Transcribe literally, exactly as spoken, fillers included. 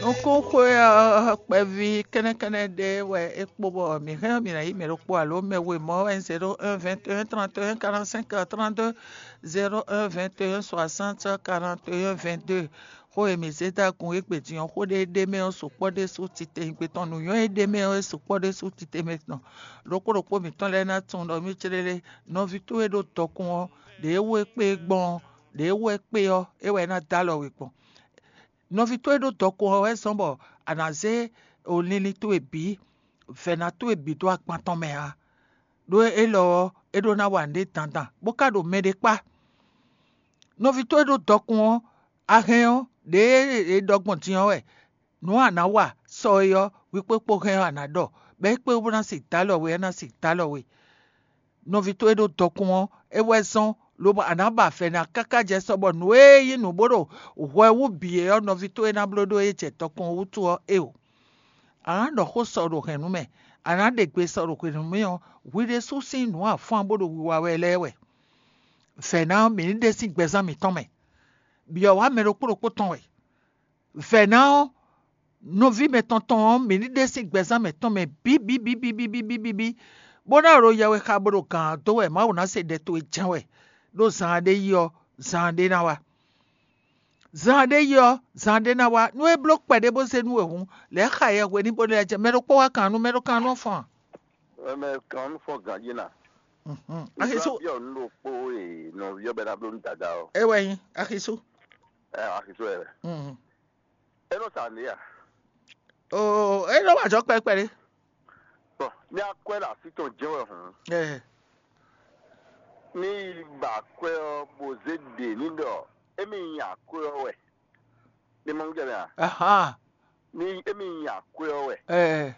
Nukúnxwé ɔ́ kpɛví kɛ́nɛ́kɛ́nɛ́ ɖé wɛ é kpo bɔ mǐ hɛn ɔ́ mǐ ná yí mɛ ɖokpó alo mɛ we mɔ̌ wɛ nyí zéro un vingt et un trente et un quarante-cinq trente-deux, zéro un vingt et un soixante quarante et un vingt-deux. Xó e mǐ zé dó agun égbé din ɔ́, xó ɖé ɖ'é mɛ ɔ́ sukpɔ́ ɖésú titewungbe tɔn, nǔnywɛ́ e ɖ'é mɛ ɔ́ é sukpɔ́ ɖésú titewungbe tɔn. Ɖokpó ɖokpó mǐtɔn lɛ́ɛ ná tunwun ɖɔ mì céɖéɖé nɔví towe ɖo dɔkun ɔ́, ɖě wú é kpé gbɔn ɔ́, ɖě wú é kpé ɔ́, é wɛ é ná dó alɔ we gbɔn. Nɔví towe ɖo dɔkun ɔ́ wɛ zɔ́n bɔ a nǎ zé linlin towe bǐ, vɛ̌na towe bǐ dó agban tɔn mɛ ǎ. Ɖó élɔ́ ɔ́, é ɖó ná wa nǔɖé dandan, bó ka ɖo mɛɖé kpá. Nɔví towe ɖo dɔkun ɔ́, a hɛn ɔ́, ɖěe è ɖɔ gbɔn din ɔ́ wɛ, nǔ a nǎ wa sɔ é ɔ́, hwi kpó kpó hɛn ɔ́ a nǎ ɖɔ, bɔ é kpé bó ná sixú dó alɔ we, é ná sixú dó alɔ we. Nɔví towe ɖo dɔkun ɔ́, é wɛ zɔ́n, lobo a nǎ ba vɛ̌ ná káká jɛ sɔ bɔ nǔ e nyí nǔ bó ɖo hwɛ wú bǐ é ɔ́, nɔví towe ná bló ɖó é jɛ dɔkun ɔ́ wútu ɔ́, éeǒ. A nǎ ɖɔ xó sɔ ɖo hɛ̌nnu mɛ, a nǎ ɖe gbe sɔ ɖo hwenu mɛ ɔ́, hwi ɖésú sín nǔ afán bó ɖo wiwa wɛ lɛ́ɛ wɛ. Vɛ̌ ná ɔ́, mǐ ní ɖe sín gbɛzán mǐtɔn mɛ, byɔ̌ wá mɛ ɖokpó ɖokpó tɔn wɛ. Vɛ̌ ná ɔ́, nɔví mɛtɔn tɔn ɔ́, mǐ ní ɖe sín gbɛzán mǐtɔn mɛ bíbíbíbíbíbí, bó ná ɖo yɛwe xa bó ɖo gǎn ɔ́ dó wɛ Mawu ná se ɖɛ towe jɛ́n wɛ, ɖó zaan ɖé yi ɔ́, zaan ɖé ná wá. Zaan ɖé yi ɔ́, zaan ɖé ná wá. Nú é bló kpɛɖé bó zé nú we hǔn, lɛ̌ xa yɛ hweníbónú lɛ́ɛ jɛ. Mɛ ɖokpó wá kan nú mɛ ɖó kan nú ɔ́ fɔ́n a? Mɛ kan nú fɔ gǎn jí na. Mhm. Axi sú. Byɔ nú ɖokpó e nɔví ɔ́ bɛ ná bló nú dada ɔ́. É wɛ nyí axi sú. Ɛ axi sú ɛ wɛ. Mhm. É nɔ sa nǔ a? Oo, é nɔ wa jɔ kpɛkpɛ ɖé. Bɔn ní akwɛ́ ɖo así tɔn jɛ́n wɛ hǔn, Ɛ. Ní yi ba akwɛ́ ɔ́ bó zé ɖě ní ɖɔ émí nyi akwɛ́ ɔ́ wɛ. Ní mɔ nú jɛ mɛ a? Ahan. Ní émí nyi akwɛ́ ɔ́ wɛ. Ɛ.